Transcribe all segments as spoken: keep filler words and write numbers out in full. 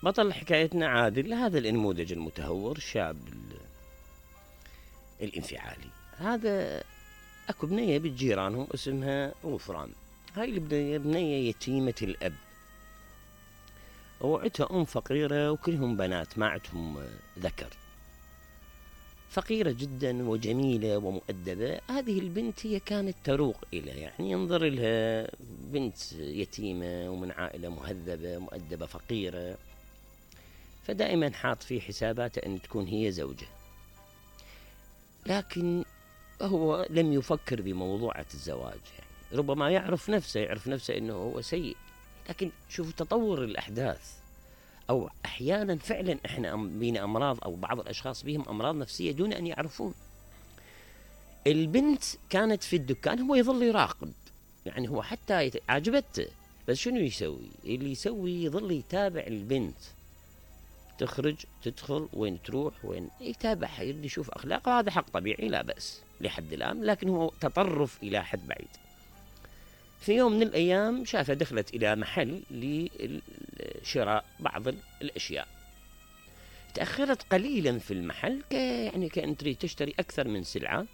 بطل حكايتنا عادل، هذا النموذج المتهور الشاب الانفعالي. هذا اكو بنية بالجيرانهم اسمها غفران. هاي البنية بنية يتيمة الاب، وعتها ام فقيرة وكلهم بنات ما عندهم ذكر، فقيرة جدا وجميلة ومؤدبة. هذه البنت هي كانت تروق إلى، يعني ينظر لها بنت يتيمة ومن عائلة مهذبة مؤدبة فقيرة، فدائما حاط في حساباته أن تكون هي زوجة. لكن هو لم يفكر بموضوعة الزواج، يعني ربما يعرف نفسه يعرف نفسه أنه هو سيء. لكن شوفوا تطور الأحداث، أو أحيانا فعلا إحنا بينا أمراض، أو بعض الأشخاص بهم أمراض نفسية دون أن يعرفون. البنت كانت في الدكان، هو يظل يراقب، يعني هو حتى عجبته، بس شنو يسوي؟ اللي يسوي يظل يتابع البنت، تخرج تدخل وين تروح وين، يتابعها يريد يشوف أخلاقها. هذا حق طبيعي لا بأس لحد الآن، لكن هو تطرف إلى حد بعيد. في يوم من الأيام شافها دخلت إلى محل لشراء بعض الأشياء، تأخرت قليلا في المحل، ك يعني كأن تريد تشتري أكثر من سلعة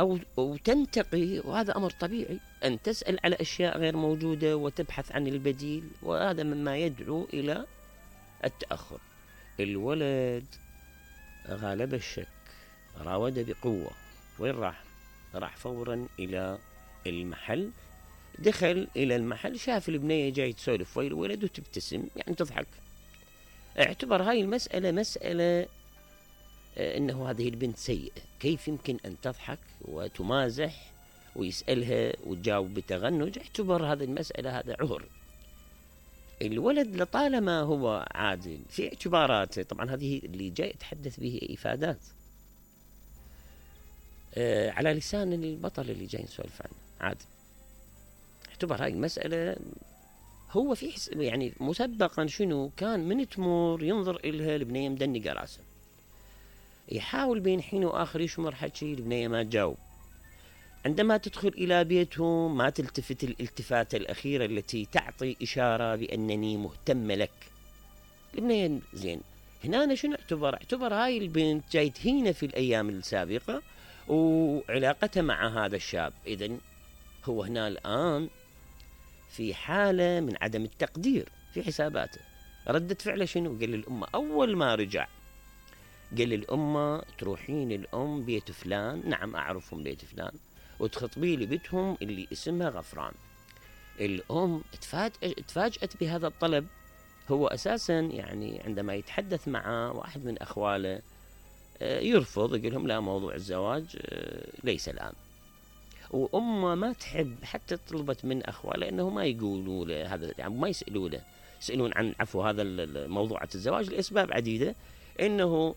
أو, أو تنتقي، وهذا أمر طبيعي أن تسأل على أشياء غير موجودة وتبحث عن البديل، وهذا مما يدعو إلى التأخر. الولد غالب الشك، راود بقوة. وين راح؟ راح فورا إلى المحل. دخل إلى المحل، شاف البنية جاي تسولف ويا الولد وتبتسم، يعني تضحك. اعتبر هاي المسألة مسألة انه هذه البنت سيئة، كيف يمكن ان تضحك وتمازح ويسألها وتجاوب بتغنج؟ اعتبر هذه المسألة هذا عهر. الولد لطالما هو عادل في اعتباراته، طبعا هذه اللي جاي يتحدث به إفادات آه على لسان البطل اللي جاي نسولف عنه عادل. اعتبر هاي المسألة هو في حس يعني مسبقا شنو كان من تمور ينظر إلها البنية مدنقة راسه، يحاول بين حين وآخر يشمر حكي، البنية ما تجاوب. عندما تدخل إلى بيتهم ما تلتفت الالتفاتة الأخيرة التي تعطي إشارة بأنني مهتم لك. البنية زين هنا أنا شنو اعتبر؟ اعتبر هاي البنت جاي تهينة في الأيام السابقة وعلاقتها مع هذا الشاب، إذن هو هنا الآن في حالة من عدم التقدير في حساباته. ردة فعله شنو؟ قال للأمة أول ما رجع، قال للأمة تروحين الأم بيت فلان، نعم أعرفهم بيت فلان، وتخطبي لي بيتهم اللي اسمها غفران. الأم تفاجأت بهذا الطلب. هو أساسا يعني عندما يتحدث مع واحد من أخواله يرفض، يقول لهم لا، موضوع الزواج ليس الآن. وأمه ما تحب حتى طلبت من أخواله أنه ما يقولوا له هذا، يعني ما يسألوا له يسألون عن عفو هذا موضوع الزواج لأسباب عديدة، إنه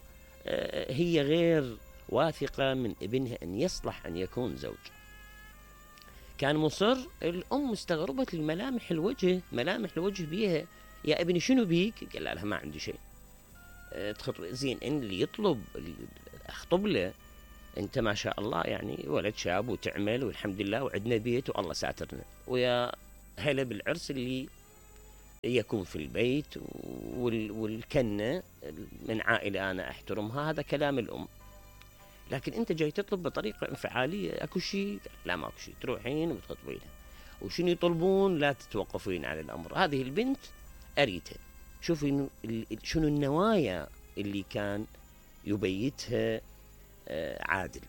هي غير واثقة من ابنها أن يصلح أن يكون زوج. كان مصر. الأم استغربت الملامح الوجه، ملامح الوجه بيها، يا ابني شنو بيك؟ قال لها ما عندي شيء. تخطب زين، إن اللي يطلب أخطب له، أنت ما شاء الله يعني ولد شاب وتعمل والحمد لله وعندنا بيت والله ساترنا، ويا هلا بالعرس اللي يكون في البيت والكنة من عائلة أنا أحترمها. هذا كلام الأم. لكن أنت جاي تطلب بطريقة انفعالية، أكو شيء؟ لا ما أكو شيء، تروحين وتخطبين وشنو يطلبون لا تتوقفين على الأمر. هذه البنت أريتها. شوفي شنو النوايا اللي كان يبيتها عادل.